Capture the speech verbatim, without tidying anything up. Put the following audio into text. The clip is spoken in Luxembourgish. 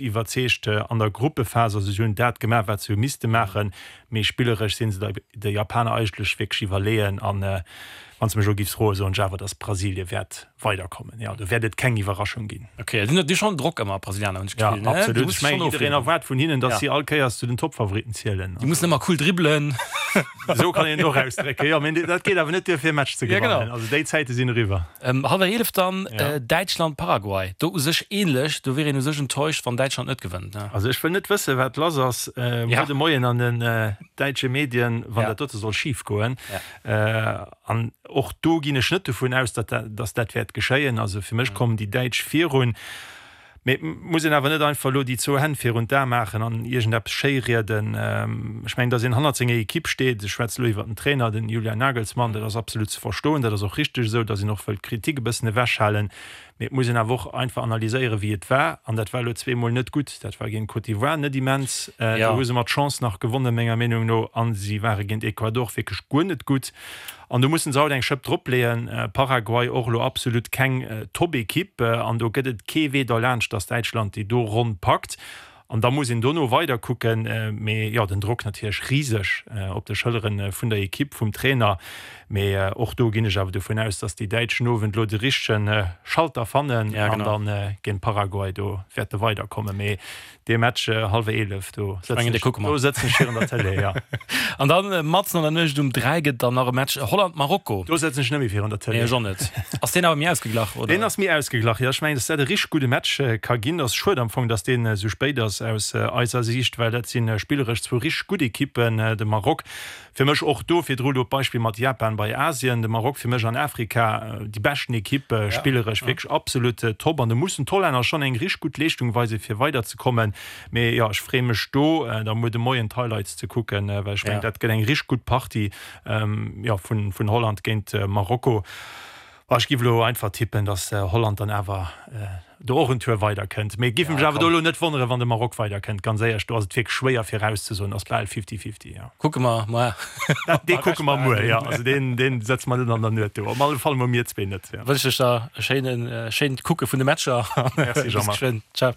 iwwerzeegt an der Gruppephas. Also si hunn dat gemaach, wat se hu misste maachen, mee spilleresch si se de Japaner eigentlech wierklech iwwerleeën. An wann s de mech elo giffs froen, soen ech awer, datt Brasilie wäert weiderkommen. Jo, do wäert et keng Iwwerraschung ginn. Ok, déi hunn schonn Drock ëmmer, d'Brasilianer, hunn ech d'Gefill. Jo, absolut. Ech mengen, jiddereen erwaart vun hinnen, datt si all Kéiers zu den Toppfavoritten zielen. Déi mussen ëmmer cool dribbelen. Esou kann een et och ausdrécken, jo. Mee dat geet awer net duer, fir e Match ze gewannen. Also déi Zäite sinn eriwwer. Hallwer eelef dann Däitschland-Paraguay. Do u sech änlech. Do wier een u sech enttäuscht, wann Däitschland net gewënnt, ne? Also ech wëll net wëssen, wat lass ass muer de Moien an den däitsche Medien, wann dat dote soll schif goen. An och do ginn ech net dovun aus, datt dat wäert geschéien. Also fir mech kommen déi Däitsch virun. Mee et muss een awer net einfach elo déi zwou Hänn virun d'Ae maachen an iergendeppes schéirieden. Ech mengen, datt een hannert senger Ekipp steet, ech schwätze elo iwwert den Trainer, den Julian Nagelsmann, dat ass absolut ze verstoen. Dat ass och richteg esou, datt een och wëllt d'Kritik e bëssen ewechhalen. Mee et muss een awer och einfach analyséieren, wéi et war. An dat war elo zweemol net gutt. Dat war géint Côte d'Ivoire net immens. Do hu se mat Chance nach gewonnen, menger Meenung no. A si ware géint Ecuador wierklech guer net gutt. An do musse se haut eng Schëpp dropleeën. Paraguay och elo absolut keng Top-Ekipp. An do gëtt et kee Wee derlaanscht, datt Däitschland déi do ronn packt. An da muss een dono weider kucken. Mee jo, den Drock natierlech riseg op de Schëllere vun der Ekipp, vum Trainer. Mee och do ginn ech awer dovun aus, datt déi Däitsch den Owend elo de richtege Schalter fannen an da géint Paraguay do wäerte weiderkommen. Mee dee Match hallwer eelef, do sëtzen ech, do sëtzen ech virun der Tëlee, jo. An dann matzen an der Nuecht um dräi gëtt dann nach e Match Holland-Marokko. Do sëtzen ech net méi virun der Tëlee. Nee, ech och net. Ass deen awer méi ausgeglach, oder? Deen ass méi ausgeglach, jo. Ech mengen, datt dat e richteg gudde Match ka ginn. Ass schued am Fong, datt deen esou spéit ass aus eiser Siicht, well dat si spilleresch zwou richteg gutt Ekippen. De Maroc fir mech och do, virdru elo d'Beispill mat Japan bei Asien, de Maroc fir mech an Afrika déi beschten Ekipp, spilleresch wierklech absolut top. An do mussen d'Hollänner schonn eng richteg gutt Leeschtung weisen, fir weiderzekommen. Mee jo, ech freeë mech do da muer de Moien d'Highlights ze kucken, well ech mengen, dat gëtt eng richteg gutt Partie, jo, vun Holland géint Marokko. Ech giff elo einfach tippen, dass Holland dann awer do och en Tour weider kënnt. Mee giff mech awer do elo net wonneren, wann de Maroc weider kënnt. Ganz éierlech, do ass et wierklech schwéier virauszesoen, ass bal fifty-fifty, jo. Kucke mer muer. Dee kucke mer muer, jo. Also deen, deen sëtze mer net an der Nuet do. Op alle Fall mol mir zwee net, jo. Wënsch ech der e schéinen, schéint Kucke vun de Matcher. Merci Jean-Marc. Bis geschwënn. Ciao.